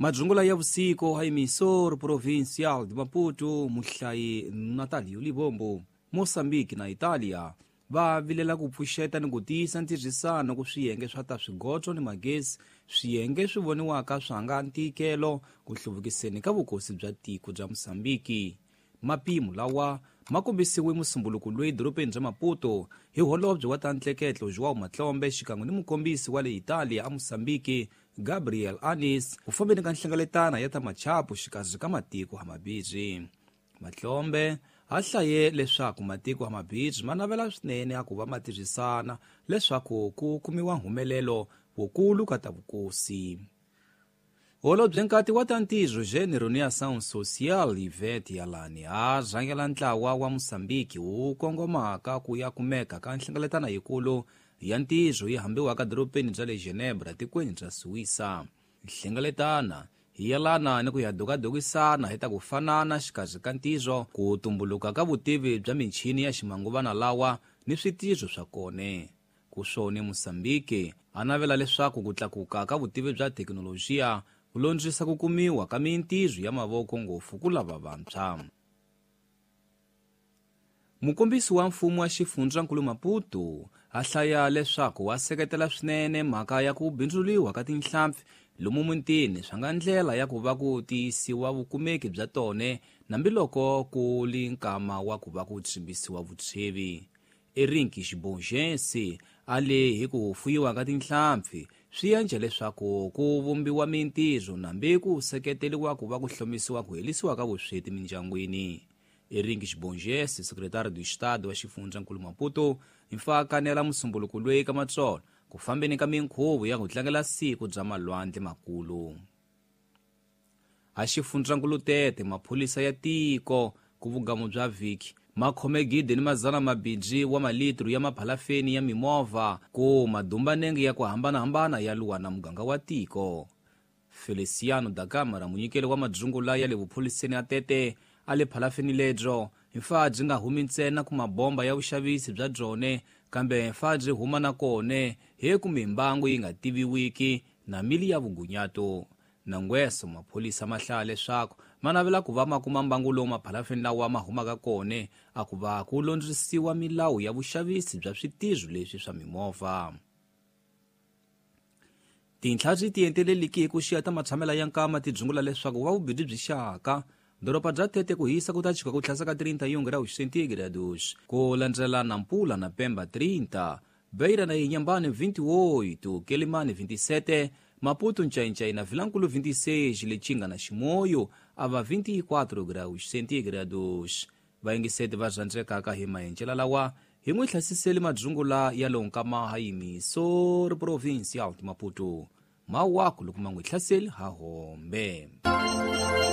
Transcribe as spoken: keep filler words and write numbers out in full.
Madzungula ya vusiku ha emissor provincial de Maputo muhlayi Natalio Libombo. Mozambique na Italia va vilela ku pfuxeta ni ku tiyisa ntirhisano ku swiyenge swa ta swigotso ni magezi, swiyenge swi voniwaka swa nga ntikelo ku hluvukiseni ka vukosi bya tiko bya Mozambique. Mapimo lawa ma kombisiwe musumbuluko loyi dorobeni bya Maputo hi holobye wa ta ntleketlo João Matlombe xikan'we ni mukombisi wa le Italia a Mozambique Gabriel Anis ku fambeni ka nhlengeletano ya ta machapu xikarhi ka matiko hamabirhi. Matlombe a hlaye leswaku matiko hamabirhi ma navela swinene a ku va ma tirhisana leswaku ku kumiwa humelelo wukulu ka ta vukosi. Holobye nkati wa ta ntirho Gênero ni Ação Social Ivete Yalani a rhangela ntlawa wa Mozambique wu kongomaka ku ya kumeka ka nhlengeletano yikulu ya ntirho yi hambiwaka dorobeni bya le Genebra tikweni bya Suwisa. Nhlengeletana hi yelana ni ku ya dokadokisana hi ta ku fanana xikarhi ka ntirho, ku tumbuluka ka vutivi bya michini ya ximanguvana lawa ni switirho swa kone. Ku swone Mozambique a navela leswaku ku tlakuka ka vutivi bya thekinolojiya ku londzisa ku kumiwa ka mintirho ya mavoko ngopfu ku lava vantshwa. Mukombisi wa mfumo wa xifundzankulu Maputo a hlaya leswaku wa seketela swinene mhaka ya ku bindzuliwa ka tinhlampfi lomu mutini swa nga ndlela ya ku va ku tiyisiwa vukumeki bya tone nambiloko ku li nkama wa ku va ku tsimbisiwa vutshevi. Erinki Xibongensi a le hi ku fuyiwa ka tinhlampfi swi endla leswaku ku vumbiwa mintirho nambi ku seketeriwa ku va ku hlomisiwa ku helisiwa ka vusweti mindyangwini. Erinki Xibongensi, secretário do Estado wa xifundzankulu Maputo, mfa kanela musumbuluko loyi ka matsolo ku fambeni ka minkhuvo ya ku tlangela siku bya malwandle makulu. A xifundzankulu Tete maphorisa ya tiko ku vugamu bya vhiki ma khome gidi ni mazana mabidzi wa malitru ya maphalafeni ya mimovha ku madumbanenge ya ku hambanahambana ya luwa na muganga wa tiko. Feliciano da Câmara, munyikeli wa madzungula ya le vupholiseni ya Tete a le phalafeni lebyo mfa byi nga humi ntsena ku mabomba ya vuxavisi bya byone kambe mfa byi huma na kone hi ku mimbangu yi nga tiviwiki na mili ya vugunyato. Nangweso mapholisa ma hlaya leswaku ma navela ku va ma kuma mbangu lowu maphalafeni lawa ma humaka kone a ku va ku londzisiwa milawu ya vuxavisi bya switirho leswi swa mimovha. Tinhla byi tienteleliki hi ku xiya ta matshamela ya nkama ti dzungula leswaku va vubirhi byi xaka doroba bya Tete ku hisa ku ta chika ku tlhasa ka trinta e um graus centígrados, ku landzela Nampula na Pemba trinta, Beira na Inhambane vinte e oito, Quelimane vinte e sete, Maputo Nchainchai na Vilankulo vinte e seis, Lichinga na Chimoio ava vinte e quatro graus centígrados. Vaingiseti va rhandzekaka hi maenjela lawa hi n'wi hlasiseli madzungula ya lonkama ha emissor provincial de Maputo. Mawaku loko ma n'wi hlaseli ha hombe.